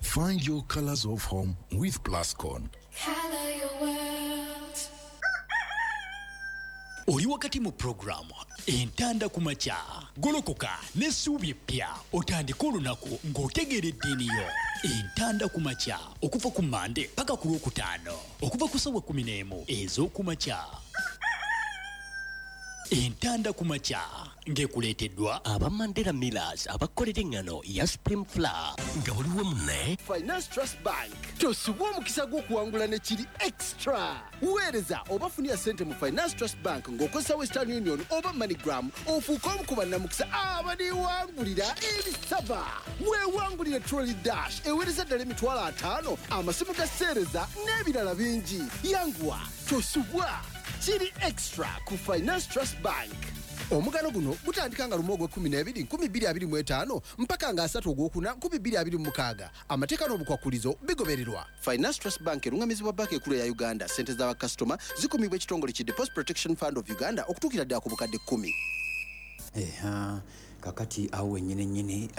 Find your colors of home with Plascon. Color your world. Oli wakati mu pulogulaamu Entanda ku Makya. Golokoka n'essuubi eppya otandike olunaku ng'otegeera eddiini yo. Entanda ku Makya okuva ku Mmande paka ku Lwokutaano okuva ku ssaawa 11 ez'oku makya. Entanda ku Makya ng'ekuleeteddwa aba Mandela Millers abakolera eŋŋano ya Supreme Flour. Nga buli wamu ne Finance Trust Bank. Tosubwa omukisa gw'okuwangula ne kiri extra. Weereza oba funira ssente mu Finance Trust Bank ng'okozesa Western Union oba MoneyGram ofuuke omu ku bannamukisa abaliwangulira ebisaba. Weewangulire Trolley Dash eweereza ddala 50,000, amasimu ga seereza n'ebirala bingi. Yanguwa, tosubwa. Kiri extra ku Finance Trust Bank. Omugano guno gutandika nga 1 ogw'ekkumi n'ebiri 2025 mpaka nga 3 ogwokuna 2026. Amateeka n'obukwakkulizo bigobererwa. Finance Trust Bank erungamizibwa Banka Ekulu eya Uganda. Ssente z'abakasitoma zikumibwa ekitongole ki Deposit Protection Fund of Uganda okutuukira ddala ku bukadde 10. Eha, kakati awo wennyini nnyini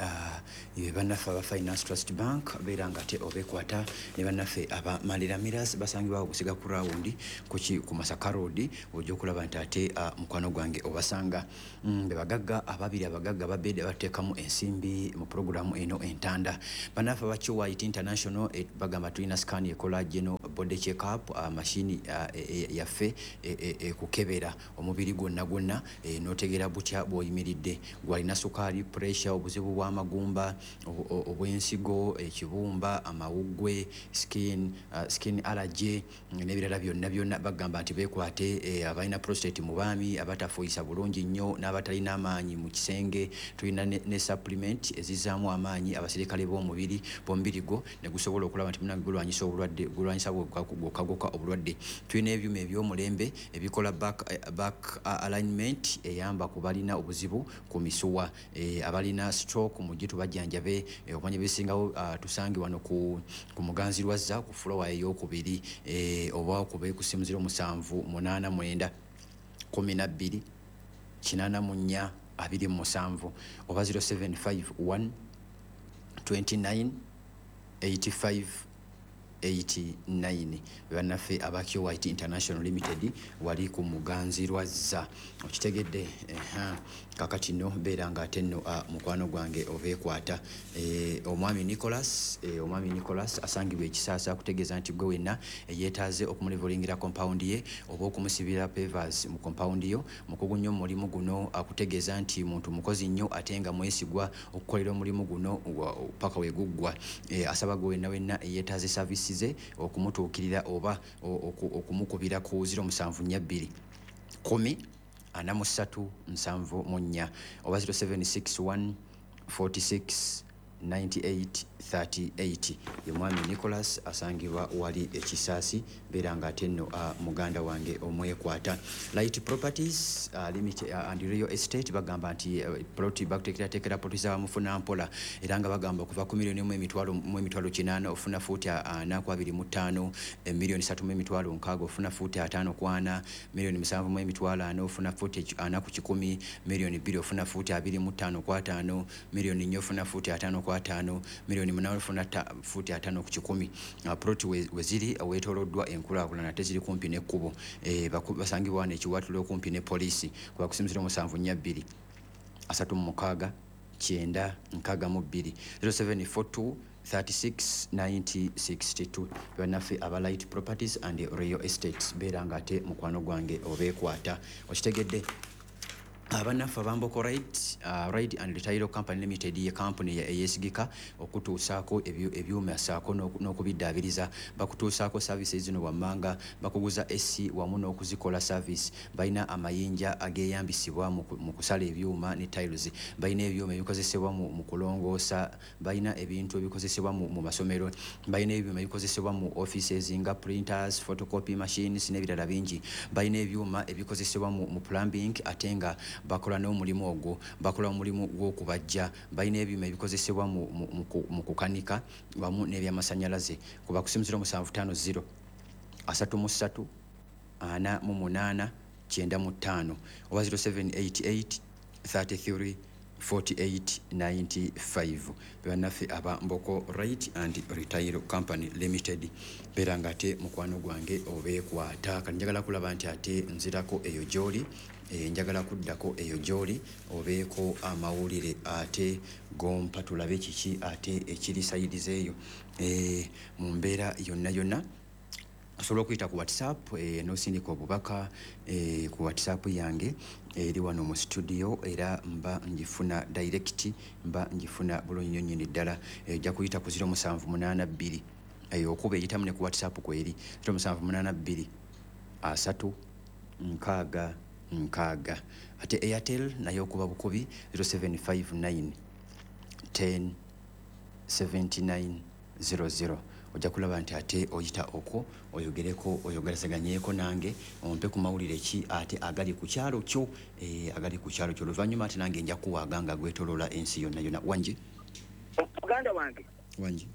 be bannaffe aba Finance Trust Bank, beera nga ate obeekwata ne bannaffe aba Mandela Millers basangibwawo Busiga ku rawundi kuki ku Masaka Road. Ojja okulaba nti ate mukwano gwange obasanga. Be bagagga ababiri, abagagga babedi abateekamu ensimbi mu pulogulaamu eno Entanda. Bannaffe aba QIT International bagamba tulina scan ekola general body check up, mashini yaffe ekukebera omubiri gwonna gwonna n'otegeera butya bw'oyimiridde. Gwalina sukaali, pressure, obuzibu bw'amagumba, obw'ensigo, ekibumba, amawuggwe, skin allergy n'ebirala byonna byonna, bagamba nti beekwate. Abalina prostate mu baami abatafuuyisa bulungi nnyo n'abatalina amaanyi mu kisenge, tulina ne supplement ezizzaamu amaanyi abasirikale b'omubiri gwo ne gusobola okulaba nti munange gulwanyisa obulwadde, gulwanyisa bwokka gwokka obulwadde. Tulina ebyuma eby'omulembe ebikola back alignment eyamba ku balina obuzibu ku misuwa, abalina stroke mujje tubajjanjabe. Okumanya ebisingawo, tusange wano ku Muganzi Lwazza ku fulowa eyokubiri, oba okube ku simu 0789 12 84 27 oba 0751 29 85 89. Bannaffe aba QIT International Limited wali ku Muganzi Lwazza, okitegedde? Eha. Kakati nno beera nga ate nno mukwano gwange obeekwata. Omwami Nicholas asangibwa Ekisaasa akutegeeza nti gwe wenna eyeetaaze okumulevelingira compound ye oba okumusibira pavers mu compound yo, mukugu nnyo mu mulimu guno. Akutegeeza nti muntu mukozi nnyo ate nga mwesigwa okukolera omulimu guno paka we guggwa. Asaba gwe wenna wenna eyeetaaze service ze okumutuukirira oba okumukubira ku 0742 10 43 74 oba 0761 46 98 38. Ye mwami Nicholas asangibwa wali Ekisaasi. Beera nga ate nno muganda wange omwekwata. Light Properties Limited and Real Estate bagamba nti plot bakuteekerateekera plot zabamufuna mpola, era nga bagamba okuva ku miliyoni 1 mu emitwalo 800 ofuna fuuti 4 ku 25, 3 miliyoni mu emitwalo 60 ofuna fuuti 50 ku 40, 7 miliyoni mu emitwalo 40 ofuna fuuti 40 ku 100, 2 miliyoni ofuna fuuti 25 ku 50, 4 miliyoni ofuna fuuti 50 ku 50, 8 miliyoni ofuna fuuti 50 ku 100. Plot we ziri weetooloddwa enkulaakulana ate ziri kumpi n'ekkubo. Basangibwa wano Ekiwatule okumpi ne poliisi kuba ku simu 0742 36 90 62, 0742 36 90 62. Bannaffe aba Light Properties and Real Estates, beera nga ate mukwano gwange obeekwata, okitegedde? Abannaffe abamboko Ride and Retail Company Limited ye kampuni eyeesigika okutuusaako ebyuma saako n'okubiddaabiriza. Bakutuusaako services zino wammanga: bakuguza AC wamu n'okuzikola service, balina amayinja ageeyambisibwa mu kusala ebyuma ne tiles, balina ebyuma ebikozesebwa mu kulongoosa, balina ebintu ebikozesebwa mu masomero, balina ebyuma ebikozesebwa mu offices nga printers, photocopy machines n'ebirala bingi, balina ebyuma ebikozesebwa mu plumbing ate nga bakola n'omulimu ogwo, bakola omulimu gw'okubajja, balina ebyuma ebikozesebwa mu kukanika wamu n'ebyamasanyalaze. Kuba ku simu 0750 33 48 95 oba 0788 33 4895. Bannaffe aba Mboko Right and Retail Company Limited, beera nga ate mukwano gwange obeekwata. Kati njagala kulaba nti ate nzirako eyo gy'oli, njagala kuddako eyo gy'oli obeeko amawulire ate gompa, tulabe kiki ate ekiri sayiriza eyo mu mbeera yonna yonna. Osobola okuyita ku WhatsApp, n'osindika obubaka ku WhatsApp yange eri wano mu studio, era mba ngifuna direct, mba ngifuna bulungi nnyo nnyini ddala. Ojja kuyita ku 0782, okuba eyitamu ne ku WhatsApp kweri 0782 3 6 6. Ate Airtel nayo okuba bukubi 0759 10 79 00. Ojja kulaba nti ate oyita okwo oyogereko, oyogerezeganyeko nange, ompe ku mawulire ki ate agali ku kyalo kyo, agali ku kyalo kyo. Oluvannyuma ate nange nja kuwaaga nga gwetoloola ensi yonna yonna. Wangi muganda wange. Wangi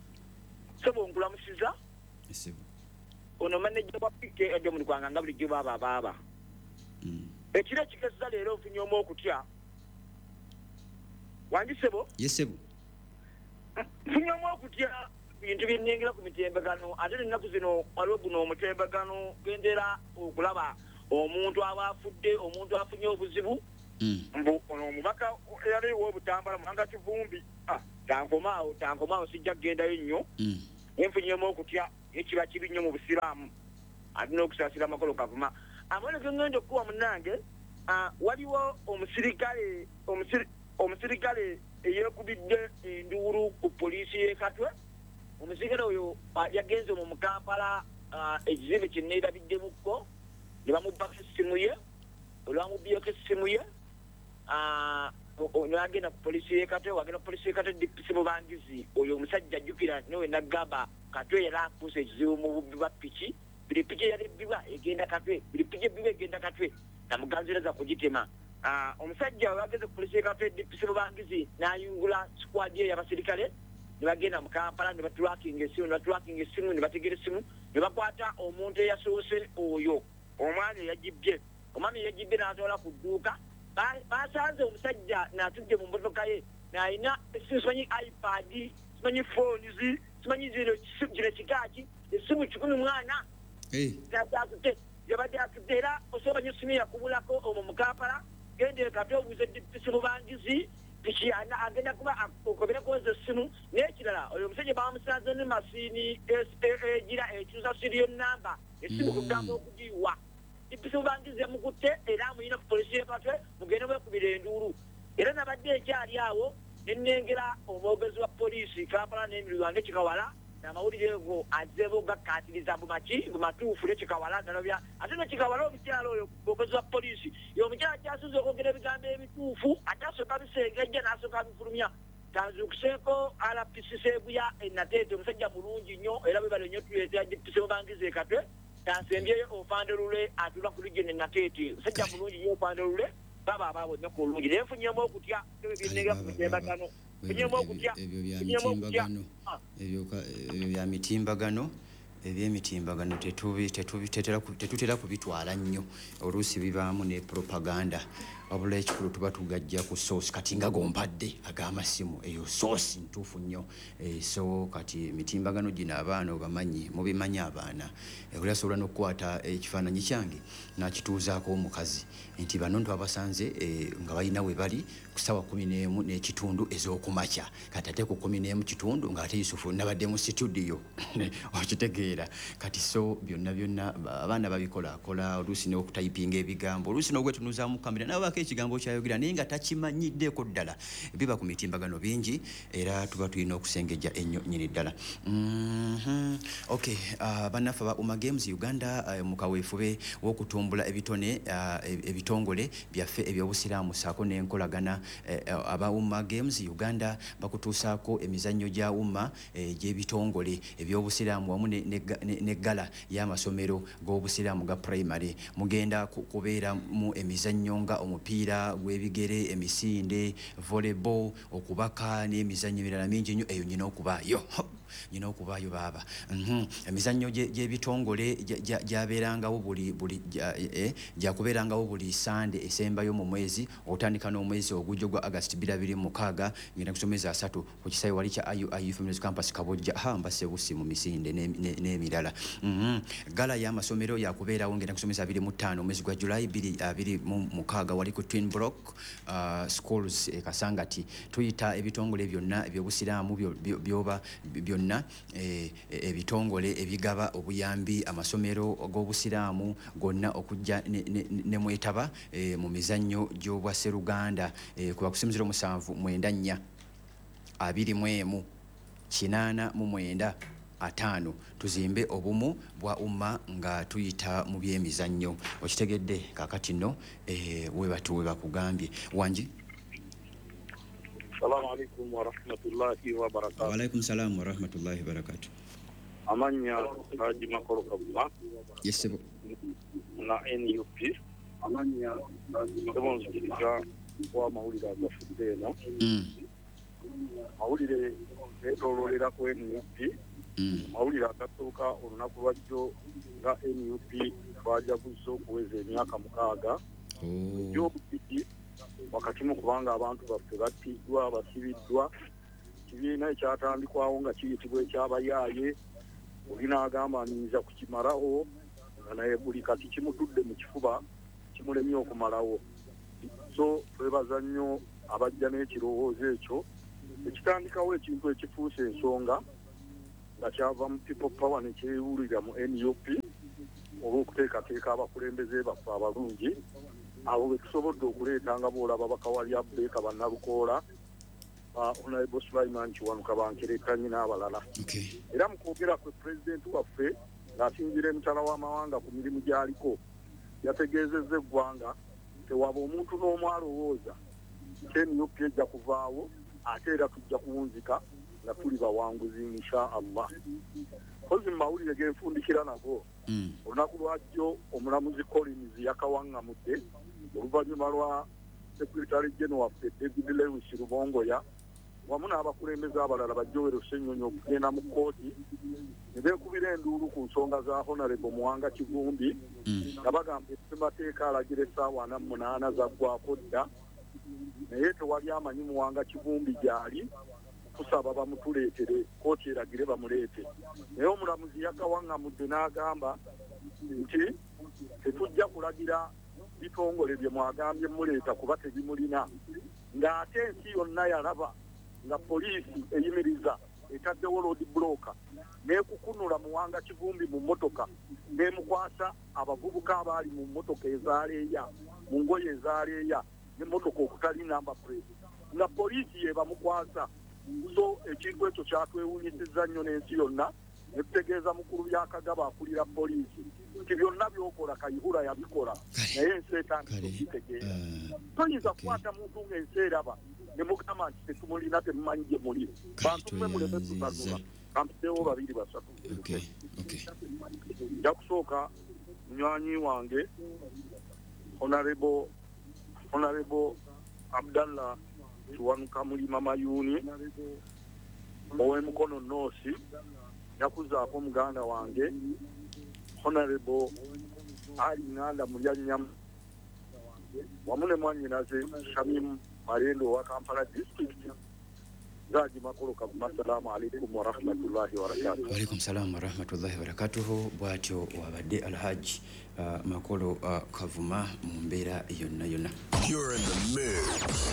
sebo, nkulamusiza. Sebo. Ono maneja wa PK Edmund Gwanga nga bulijjo baaba baaba. Ekiro ekigezza leero nfunye omu okutya. Wangi sebo? Yes sebo. Nfunye omu okutya bintu byenengera ku mitembagano, ate ennaku zino waliwo guno omutembagano gendera okulaba omuntu aba afudde, omuntu afunye obuzibu. Mbu ono omubaka eyali ow'Obutambala Muhanga Kivumbi, tankomaawo, tankomaawo, sijja kugendayo nnyo. Enfunyemu okutya ekiba kibi nnyo mu Busiraamu, ate n'okusaasira amakolo kavuma. Amawulire ge ŋŋenda okukuwa munnange, waliwo omusirikale omusirikale eyeekubidde enduulu ku poliisi y'e Katwe. Omusirikale oyo yagenze mu Kampala, ekizimbe kye neerabiddemukko, ne bamubbako essimu ye. Olwamubbiyeko essimu ye, n'agenda ku poliisi y'e Katwe. Wagenda ku poliisi y'e Katwe, DPC Mubangizi oyo omusajja ajjukira newe nagamba Katwe yali afuuse ekizibu mu bubbi bwa piki. Buli piki eyali ebbibwa egenda Katwe, buli piki ebbibwa egenda Katwe, namuganziraza kugitema. Omusajja wageze ku poliisi y'e Katwe, DPC Mubangizi n'ayungula sikwadi ye y'abasirikale ne bagenda mu Kampala ne batulakinga essimu, ne batulakinga essimu, ne bategera essimu, ne bakwata omuntu eyasoose oyo omwami eyagibbye. Omwami eyagibbye n'atwala ku dduuka. Basanze omusajja n'atudde mu mmotoka ye n'alina essimu, simanyi iPad, simanyi phones, simanyi zino kino kikaaki, essimu 1,000 atudde yabadde atudde. Era osobola nyo essimu yakubulako omwo mu Kampala, genda e Katwe obuuze DPC Mubangizi piki agenda kuba okobereko ezo essimu. N'ekirala oyo omusajja bamusanze ne masiini egira ekyusa serial number essimu kugamba okugiwa. DPC Mubangizi yamukutte era amuyina ku poliisi y'e Katwe, mugende mwekubira enduulu. Era nabadde ekyali awo ne nnengera omwogezi wa poliisi Kampala n'emirwange Kikawala, amawulire ago azzeebo gakkaatiriza mbu matuufu ne Kikawala nalobya. Ate ne Kikawala omukyala oyo mwogezi wa poliisi ye omukyala kyasinze okwogera ebigambo ebituufu, ate asooka bisengejja n'asooka bifulumya. Tanzuukuseeko RPC Sseguya e Nateete, omusajja mulungi nnyo era bwe nnyo tuleetera DPC Mubangizi e Katwe. Tansembyeyo Ofande Lule atula ku region e Nateete, omusajja mulungi nnyo Ofande Lule, baba abaabo ennaku olungi. Naye nfunyemu okutya ebyennega ku mitembagano, nfunyemu okutya ebyo bya mitimbagano, ebyo bya mitimbagano, ebyemitimbagano tetutera kubitwala nnyo, oluusi bibaamu ne propaganda. Wabula ekikulu tuba tugajja ku source. Kati nga gompadde ag'amasimu, eyo source ntuufu nnyo. So kati emitimbagano gino abaana obamanyi, mubimanyi abaana, oli asobola n'okukwata ekifaananyi kyange n'akituuzaako omukazi nti bano twabasanze nga balina we bali ku ssaawa 11:15 ez'okumakya. Kati ate ku 11:15 ng'ate Yusufu nabadde mu situdiyo okitegeera. Kati so byonna byonna abaana babikolakola, oluusi n'okutayipinga ebigambo, oluusi n'ogwetunuzaamu kamera nabaako ekigambo kyayogera naye nga takimanyiddeeko ddala. Biba ku mitimbagano bingi era tuba tulina okusengejja ennyo nnyini ddala. Okay, bannaffe aba Uma Games Uganda, mu kaweefube w'okutumbula ebitone ebitongole byaffe ebyobusiraamu ssaako n'enkolagana, aba Uma Games Uganda bakutuusaako emizannyo gya Uma egy'ebitongole ebyobusiraamu wamu n'eggala y'amasomero g'obusiraamu ga primary. Mugenda kubeeramu emizannyo nga omupiira gw'ebigere, emisinde, volleyball, okubaka n'emizannyo emirala mingi nnyo. Eyo nyina okubaayo. Nyina okubaayo baaba. Emizannyo gy'ebitongole gyabeerangawo gyakubeerangawo buli Sande esembayo mu mwezi, otandika n'omwezi ogujja gwa August 2026 ngenda kusomeza 3 ku kisaawe wali kya IUIU Families Campus Kabojja hamba sebusi mu misinde n'emirala. Gala y'amasomero yakubeerawo ngenda kusomeza 25 omwezi gwa July 2026 wali ku Twin Block Schools e Kasangati. Tuyita ebitongole byonna ebyobusiraamu byoba byonna ebitongole ebigaba obuyambi amasomero g'obusiraamu gonna okujja ne mwetaba mu mizannyo gy'obwaseruganda kuba ku 07 94 21 89 5. Tuzimbe obumu bwa umma nga tuyita mu byemizannyo. Okitegedde kaakati nno webatu webakugambye wangi. Assalamu alaikum wa rahmatullahi wa barakatuh. Wa alaikum salam wa rahmatullahi wa barakatuh. Amanya Haji Makolo Kavuma. Yes sir. Na NUP. Amanya Haji wa mawulire agafudde eno. Mawulire geetooloolera ku NUP. Mawulire agatuuka olunaku lwajjo nga NUP twajaguzza okuweza emyaka 6. Egy'obukiki wakati mu kubanga abantu baffe battiddwa, basibiddwa. Ekibiina ekyatandikwawo nga kiyitibwa ekyabayaaye, oli n'agamba nnyinza kukimalawo, nga naye buli kati kimutudde mu kifuba kimulemye okumalawo. So twebaza nnyo abajja n'ekirowoozo ekyo ekitandikawo ekintu ekifuuse ensonga nga kyava mu People Power ne kyewulira mu NUP olw'okuteekateeka abakulembeze baffe abalungi abo be tusobodde okuleeta nga bw'olaba bakawalya Abubeka Bannalukoola, Honorable Sulaiman Kiwanuka Bankerekanyi n'abalala. Era mu kwogera kwe pulezidenti waffe ng'asinziira emitala w'amawanga ku mirimu gy'aliko yategeezezza eggwanga tewaba omuntu n'omu alowooza nti NUP ejja kuvaawo ate era tujja kuwunzika nga tuli bawanguzi insha Allah. Kozi mu mawulire g'enfundikira nago olunaku lwajjo omulamuzi Collins yakawaŋŋamudde oluvannyuma lwa Secretary General waffe David Lewis Rubongoya wamu n'abakulembeze abalala ba Joel Ssenyonyi okugenda mu kkooti ne beekubira enduulu ku nsonga za Honorable Muwanga Kivumbi nga bagamba ssemateeka alagira essaawa 48 zaggwako dda, naye tewali amanyi Muwanga Kivumbi gy'ali, kusaba bamutuleetere kkooti eragire bamuleete. Naye omulamuzi yakawaŋŋamudde n'agamba nti tetujja kulagira bitongole bye mwagambye muleeta kuba tebimulina, ng'ate ensi yonna yalaba nga poliisi eyimiriza etaddewo road blocker n'ekukunula Muwanga Kivumbi mu mmotoka n'emukwasa abavubuka abaali mu mmotoka ezaaleeya mu ngoye ezaaleeya n'emmotoka okutali number plate nga poliisi yebamukwasa. So ekintu ekyo kyatwewuunyisizza nnyo n'ensi yonna ne tutegeeza mukulu Byakagaba akulira poliisi nti byonna by'okola Kayihura yabikola naye ensi etandise okubitegeera. Toyinza kukwata muntu ng'ensi eraba ne mugamba nti tetumulina, temumanyi gye muli. Bantu mmwe muleme tutanula, kampiseewo 2 3. Nja kusooka munywanyi wange Honorable Abdallah Kiwanuka Mulima Mayuni ow'Emukono North, njakuzaako muganda wange Honorable Ali Nganda Mulyannyama wamu ne mwannyinaze Shamim Malendo wa Kampala District. Zaji Makolo Kavuma, assalamu alaikum wa rahmatullahi wa barakatuh. Wa alaikum salam wa rahmatullahi wa barakatuh. Bw'atyo wabadde Alhaji Makolo Kavuma mu mbeera yonna yonna. You're in the mix.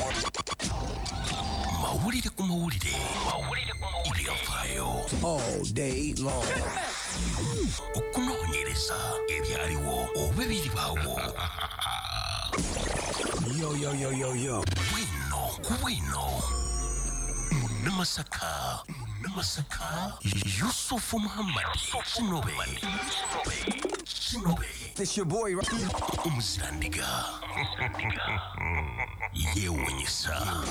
Mawulire ku mawulire. Mawulire ku mawulire. Ebyafaayo. All day long. Okunoonyereza ebyaliwo oba ebiribaawo. Yo, yo, yo, yo, yo. Bwino ku bwino. Munamasaka. Munamasaka. Yusufu Muhammad. Kinobe. Kinobe. It's your boy. Omuzirandiga. Yeewuunyisa.